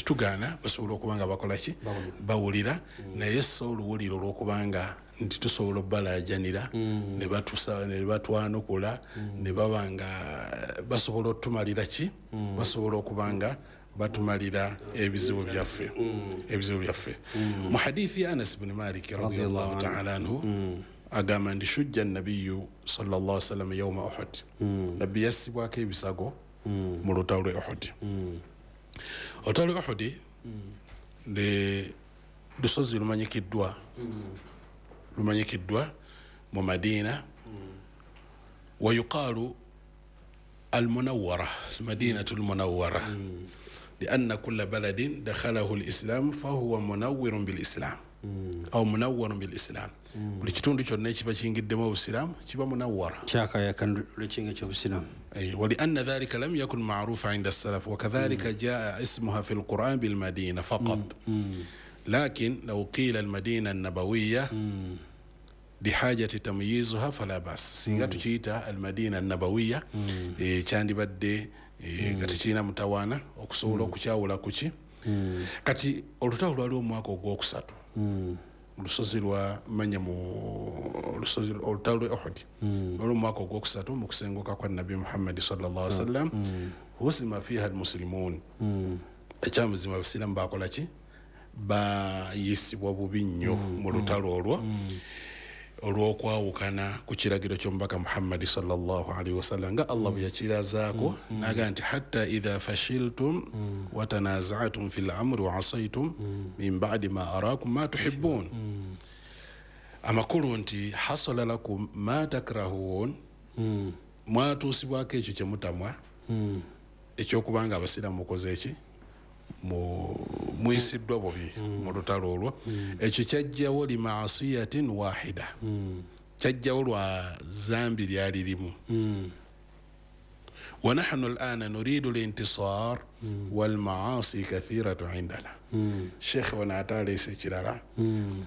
Tetugaana, basobola okuba nga bakola ki, bawulira, naye so oluwuliro olwokubanga nti tusobola obbalajanira ne batusa ne batwanukula ne baba nga basobola otumalira ki, basobola okuba nga batumalira ebizibu byaffe, ebizibu byaffe. Mu hadithi ya Anas bni Malik radiallahu taala anhu agamba nti shujja nabiyu sallallahu alaihi wasallam yauma Uhud, nabbi yassibwako ebisago mu lutalo lwe Uhud. Olutalo lwe Uhud ne lusozi lumanyikiddwa mu Madina, wa yuqalu almunawwara, almadinatu almunawwara, lianna kulla baladin dakhalahu alislam fahuwa munawwirun bilislam aw munawwarun bilislam. Buli kitundu kyonna ekiba kiyingiddemu obusiraamu kiba munawwara, kyakayakana lwekinga ky'obusiraamu. ولأن ذلك لم يكن معروفا عند السلف، وكذلك جاء اسمها في القرآن بالمدينة فقط، لكن لو قيل المدينة النبوية لحاجة تمييزها فلا بأس. Singa tukiyita المدينة النبوية kyandibadde nga tekirina mutawaana okusobola okukyawula kuki. Kati olutalo lwali omwaka ogwokusatu mu lusozi lwa manya mu lusozi, olutalo lwe Uhud lwali omwaka ogwokusatu mu kusenguka kwa Nabbi Muhammadi sallallahu alaihi wasallam. Husima fiha almuslimun, ekyamuzima abasiraamu bakola ki, bayisibwa bubi nnyo mu lutalo olwo olw'okwawukana ku kiragiro ky'omubaka Muhammadi sallallahu alaihi wasallam, nga Allah bwe yakirazaako naga nti hatta idha fashiltum watanaza'tum fi lamri wa asaitum min ba'di ma arakum ma tuhibbun. Amakulu nti hasala lakum ma takrahun, mwatuusibwako ekyo kye mutamwa, ekyokubanga abasiraamu mukoze eki, muyisiddwa bubi mu lutalo olwo. Ekyo kyajjawo limaasiyatin wahida, kyajjawo lwa zambi lyali limu. Wa nahnu alana nuridu lintisar walmaasi kathiratu indana. Sheekhe wano ate aleese ekirala,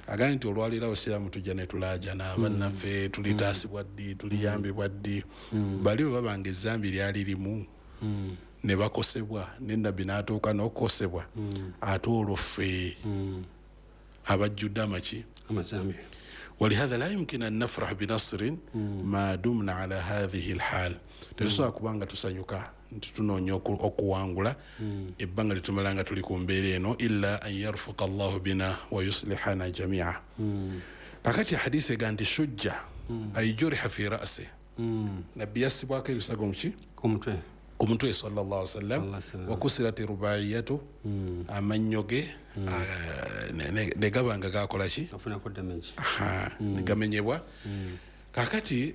agambye nti olwaliro abasiraamu tujja ne tulaajana, bannaffe tulitaasibwa ddi, tuliyambibwa ddi? Bali bwe babanga ezambi lyali limu ne bakosebwa, ne nabbi n'atuuka n'okukosebwa, ate olwo ffe abajjudde amaki, amazambi. ولهذا لا يمكن أن نفرح بنصر ما دمنا على هذه الحال. Tetusobola kubanga tusanyuka nti tunoonya okuwangula ebbanga litumala nga tuli ku mbeera eno, illa an yarfuqa Allahu bina wa yuslihana jamia. Kakati hadisi ega nti shujja ay juriha fi ra'si, nabbi yassibwako ebisago muki, ku mutwe, ku mutwe sallallahu alaihi wasallam. Sallallahu. Wakusirat rubaiyatu, amannyo ge ne gaba nga gakola ki, afunako damage. Aha, ne gamenyebwa. Kakati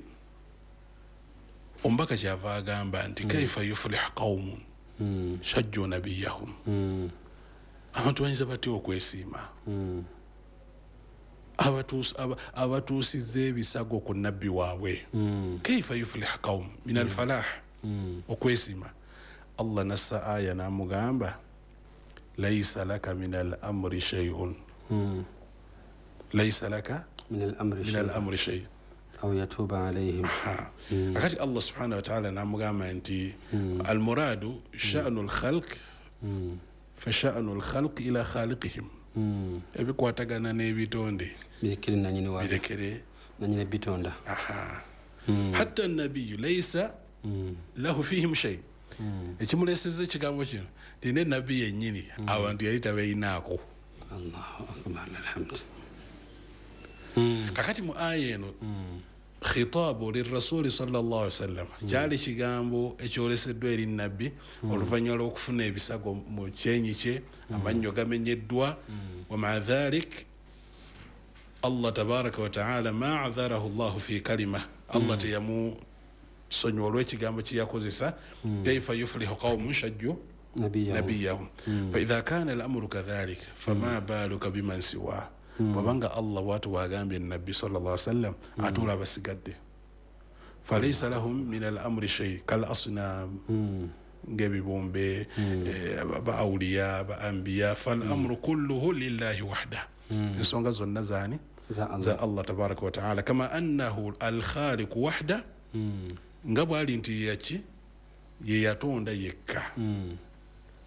omubaka kyava agamba nti kaifa yuflih qaumun shajju nabiyahum, abantu bayinza batya okwesiima abatuusizza ebisago ku nabbi waabwe? Kaifa yuflih qaum min alfalah, okwesiima. Allah nassa aya n'amugamba laisa laka min al amri shay'un, laisa laka min al-amri min shay al amri shay aw yatuba alayhim. Ha. Kakati Allah subhanahu wa ta'ala n'amugamba nti almuradu sha'nu lkhalq, fa sha'nu lkhalq ila khaliqihim, ebikwatagana n'ebitonde birekere nanyini wa birekere nanyini bitonda. Aha, hatta nabiyu laisa lahu fihim shay. Ekimuleseza ekigambo kino ti ne nabbi yennyini abantu yali tabeeyinaako. Allahu akbar, alhamd. Kakati mu aya eno khitabu lirasuli sallallahu alaihi wasallam, kyali kigambo ekyoleseddwa eri nabbi oluvannyuma lw'okufuna ebisago mu kyenyi kye, amannyo gamenyeddwa. Wa maa dhalik Allah tabaraka wa taala ma adharahu llahu fi kalima, Allah teyamusonyiwa olw'ekigambo kye yakozesa, kaifa yuflihu qaumun shajju nabiyahum nabiyahum. Faidha kana lamuru kadhalik fama baluka biman siwa. Bwabanga Allah bwatu bwagambye nabbi sallallahu alaihi wasallam, ate olwo abasigadde, falaisa lahum min al amri shay kal asnam, ng'ebibumbe, ba auliya, ba anbiya, fal amru kulluhu lillahi wahda, ensonga zonna zaani? Za Allah. Za Allah tabaraka wa taala, kama annahu alkhaliqu wahda, nga bwali nti yaki ye yatonda yekka.